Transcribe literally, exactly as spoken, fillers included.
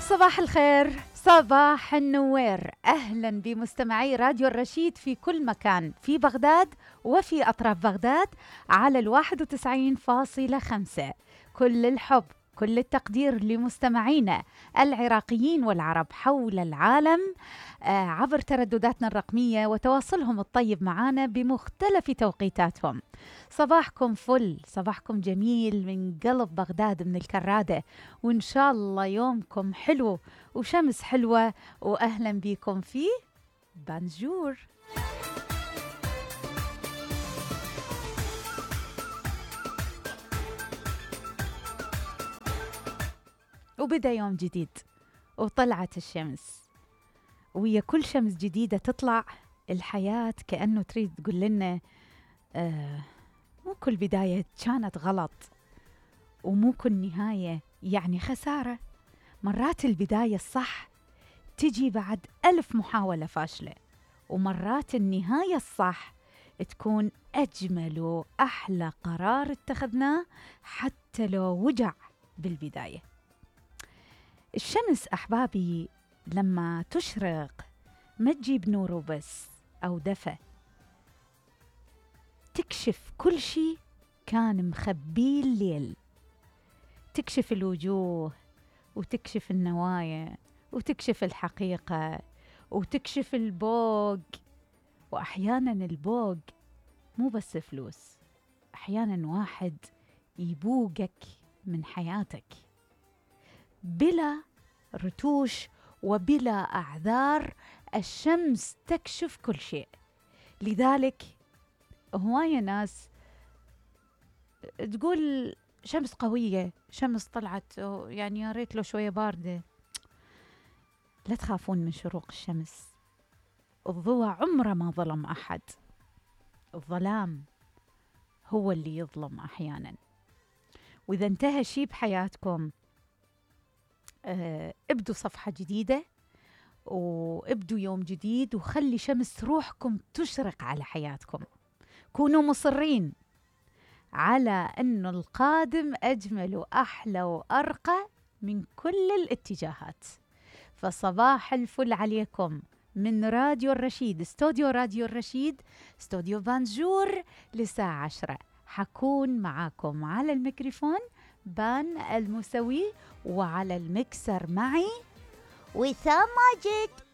صباح الخير، صباح النوير، أهلا بمستمعي راديو الرشيد في كل مكان في بغداد وفي أطراف بغداد على الواحد وتسعين فاصلة خمسة. كل الحب، كل التقدير لمستمعينا العراقيين والعرب حول العالم عبر تردداتنا الرقمية وتواصلهم الطيب معنا بمختلف توقيتاتهم. صباحكم فل، صباحكم جميل من قلب بغداد من الكرادة، وإن شاء الله يومكم حلو وشمس حلوة، وأهلا بكم في بانجور. وبدأ يوم جديد وطلعت الشمس، ويا كل شمس جديدة تطلع الحياة كأنه تريد تقول لنا آه مو كل بداية كانت غلط، ومو كل نهاية يعني خسارة. مرات البداية الصح تجي بعد ألف محاولة فاشلة، ومرات النهاية الصح تكون أجمل وأحلى قرار اتخذناه حتى لو وجع بالبداية. الشمس أحبابي لما تشرق ما تجيب نور وبس أو دفى، تكشف كل شي كان مخبيه الليل، تكشف الوجوه وتكشف النوايا وتكشف الحقيقة وتكشف البوق. وأحيانا البوق مو بس فلوس، أحيانا واحد يبوقك من حياتك بلا رتوش وبلا أعذار. الشمس تكشف كل شيء، لذلك هواية ناس تقول شمس قوية، شمس طلعت يعني يا ريت لو شوية باردة. لا تخافون من شروق الشمس، الضوء عمره ما ظلم أحد، الظلام هو اللي يظلم أحيانا. وإذا انتهى شي بحياتكم اه ابدوا صفحة جديدة وابدوا يوم جديد، وخلي شمس روحكم تشرق على حياتكم. كونوا مصرين على أنه القادم أجمل وأحلى وأرقى من كل الاتجاهات. فصباح الفل عليكم من راديو الرشيد، استوديو راديو الرشيد، استوديو بانجور، لساعة عشرة حكون معاكم على الميكروفون بان المسوي، وعلى المكسر معي وسام ماجد.